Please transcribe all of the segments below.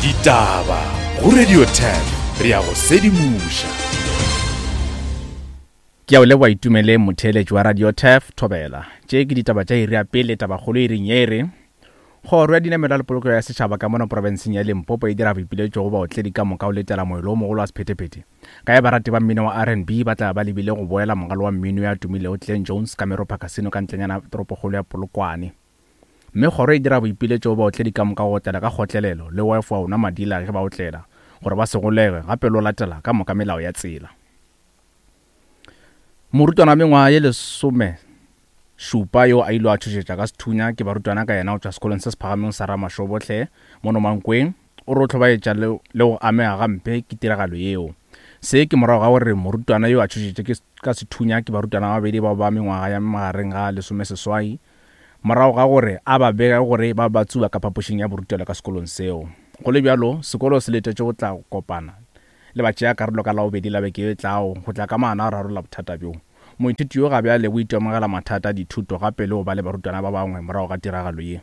Ditaba go Radio 10 re ya go sedimoša. Ke a o leboga Itumeleng motheeletši wa Radio Turf Thobela. Tše ke ditaba tša iri ya pele tabakgolo iring ye e re Kgoro ya Dinamelwa le Polokego ya Setšhaba ka mono profenseng ya Limpopo e dira boipiletšo go baotledi ka moka go letela moelo o mogolo wa sephethephethe ka ge barati ba mmino wa RnB ba tla ba lebile go boela mogalo wa mmino yo a tumilego Glen Jones ka Meropa Casino ka ntlenyana toropokgolo ya Polokwane. Mme kgoro e dira boipiletšo go baotledi ka moka go otlela ka kgotlelelo le go efoga go nwa madila ge ba otlela gore ba se golege gape le go latela ka moka melao ya tsela. Morutwana wa mengwaga ye lesome šupa yo a ilego a tšhošetša ka sethunya ke barutwana ka yena go tšwa sekolong se se phagamego sa Ramashobohle mono Mankweng o re o hlobaetša le le go amega gampe ke tiragalo yeo. Se ke morago ga gore morutwana yo a tšhošetše ke ka sethunya ke barutwana ba babedi bao ba mengwaga ya magareng ga lesomeseswai morago ga gore a ba bege gore ba ba tsuba ka phapošing ya borutelo ka sekolong seo. Go le bjalo, sekolo se letetše go tla kopana le batšeakarolo ka Labobedi la beke ye e tlago go tla ka maano a go rarolla bothata bjo. Moithuti yo ga bjale o itemogela mathata a dithuto gape le go ba le barutwana ba bangwe morago ga tiragalo ye.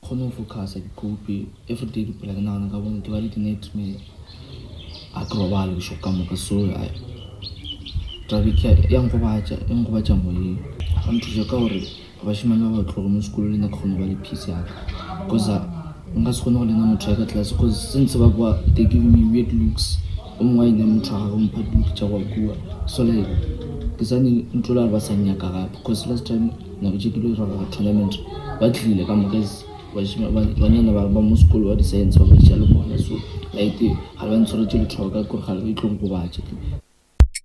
Kgone go focusa ke cope everyday ke phela ke nagana ka bone ke ba le di-nightmare a ke robale bošego ka moka so taba ya nkgobatša e nkgobatša moyeng ba nthuša ka gore bašemane ba ba tloge mo sekolong le nna ke kgone go ba le peace ya ka cause nka se kgone go lena motho ya ka tlase cause since ba kwa they give me weird looks o mongwe a ina motho wa gagwe mpha di-look tša go kua so like ke sane ntlo le ba sa nnyaka gape cause last time nako tše ke lo dira gore tournament ba tlile ka moka banyana ba mo sekolo ba di-science ba ba tša le bona so like ga ba ntshwaretse lethoko ka kore ga le e tlo nkobatša.